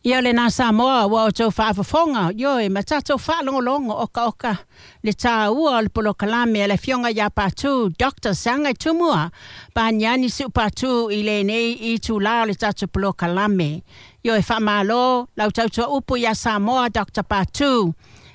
Ia lena Samoa ua outou faafofoga, ioe, ma tatou faalogologo okaoka le tāua o le polokalame a le Afioga ia Patu, Dr. Saga Tumua, Paniani Siu Patu i lenei itulā o le tatou polokalame. Ioe, faamalo lau tautua upu iā Samoa, Dr. Patu.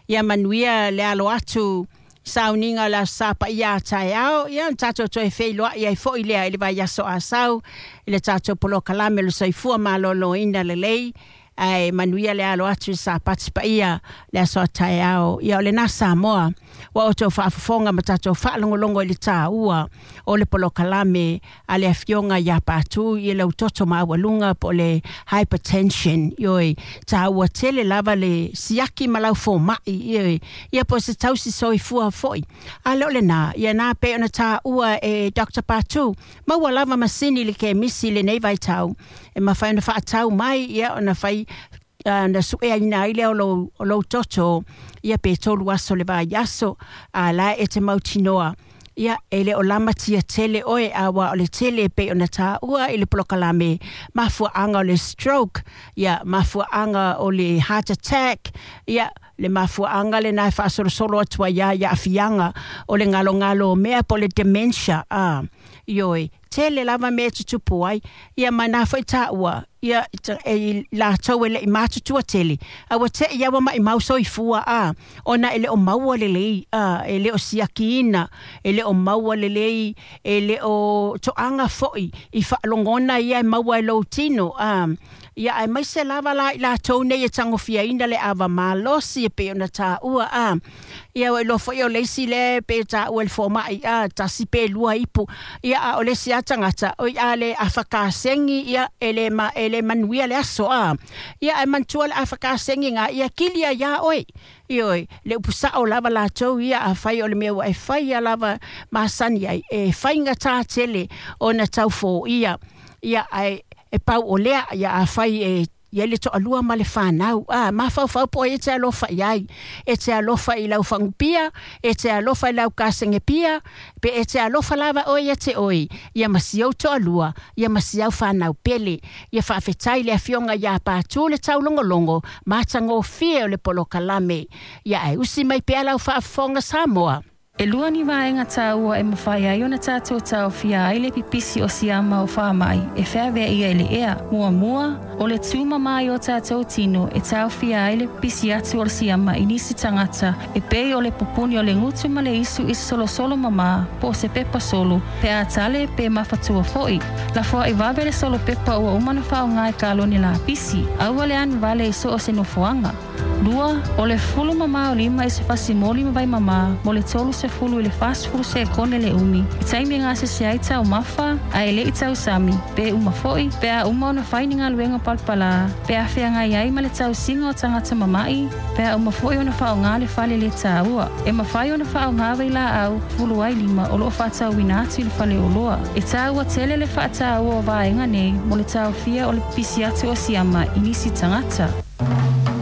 Ia manuia le alo atu sauniga o le Aso Sa paia a taeao, ia ona tatou toe feiloai ai foi lea i le vaiaso a sau i le tatou polokalame o le soifua maloloina lelei. Ae manuia le alo atu i Sapati paia le aso a taeao. Ia o lena Samoa ua outou faafofoga ma tatou faalogologo i le tāua o le polokalame a le Afioga ia Patu i lau toto maualuga po o le hypertension. Ioe, tāua tele lava le siaki ma lau fomai, ioe, ia po o se tausi soifua foi. A le o lena, ia na pei ona tāua e Dr. Patu, maua lava masini i le kemisi i lenei vaitau e mafai ona faatau mai, ia ona fai na sueaina ai lea o lou toto, ia pe 3 aso le vaiaso, a la e te mautinoa ia e le o lamatia tele oe, a ua o le tele pei ona tāua i le polokalame mafuaaga o le stroke, ia mafuaaga o le heart attack, ia le mafuaaga lena e faasolosolo atu ai ia aafiaga o le galogalo o mea po o le dementia. Ioe, tele lava mea e tutupu ai, ia ma na foi tāua ia e latou e le'i matutua tele, a ua te'i lava maʻimau soifua a ona e le o maua lelei, e le o siakiina, e le o maua lelei, e le o toaga foi i faalogona ia e maua e lou tino. Ia aemaise lava la i latou nei e tagofiaina le ava malosi e pei ona tāua. Ia ua iloa foi o le isi lea pe tāua i le fomai, 1 pe 2 ipu, ia a o le isi lava tagata oi a le afakasegi, ia e le manuia le aso. Ia ae manatua le afakasegi ga ia kilia iā oe. Ioe, le upu sao lava latou ia, afai o le mea ua e faia lava masani ai, e faigatā tele ona taufoia. Ia ae e pau o lea, ia afai e ia le toalua ma le whanau. Mafaufau po e te alofa i ai. E te alofa i lau fagupia, e te alofa i lau kasegepia, pe e te alofa lava oe ia te oe. Ia ma si au toalua, ia ma si au whanau pele. Ia faafetai le Afioga ia Patu le taulogologo, matagofie o le polokalame. Ia ae usi mai pea lau faafofoga Samoa. E lua ni vaega tāua e mafai ai ona tatou taofia ai le pipisi o siama o faamai e feaveaia i le ea. Muamua, o le tumama ai o tatou tino e taofia ai le pipisi atu o le siama i nisi tagata e pei o le pupuni o le gutu ma le isu i se solosolo mamā po o se pepa solo, pe a tale pe mafatua foi. Lafoai vave le solo pepa ua uma ona faaaoga i kalone lapisi, aua le anu vale i so o se nofoaga. Lua, o le fulu mamā o lima i se fasimoli ma vai mamā mo le 30 i le 40 sekone le umi. I taimi e gasese ai taumafa, ae leʻi tausami, pe uma foi, pe a uma ona fai ni galuega palapalā, pe a feagai ai ma le tausiga o tagata mamaʻi, pe a uma foi ona faaaogā le fale lē tāua. E mafai ona faaaogā vailaau fulu ai lima o loo faatauina atu i le faleoloa. E tāua tele le faatāua o vaega nei mo le taofia o le pipisi atu o siama i nisi tagata.